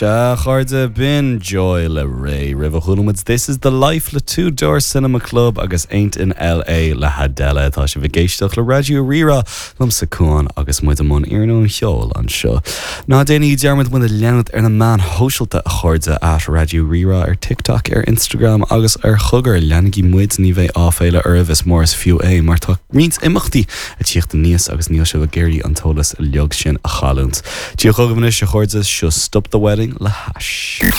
Sea, a chairde, b'in Joy le Raye. Roimhe chuala muid This Is The Life le Two Door Cinema Club agus Ain't In LA le hAdele. Tá sibh ag éisteacht le Raidió Rí-Rá, liomsa Cuán agus muid i mbun iarnóin cheoil anseo. Ná déanaigí dearmad muid a leanúint ar na meáin shóisialta, a chairde, at Raidió Rí-Rá ar TikTok, ar Instagram agus ar Chogar. Leanaigí muid, ní bheidh áiféala oraibh, is mór is fiú é mar tá roinnt imeachtaí ag tíocht aníos agus níl sibh ag iarraidh an t-eolas uilig sin a chailliúint. Dia chugaibh anois, a chairde, seo Stop the Wedding le hAsh.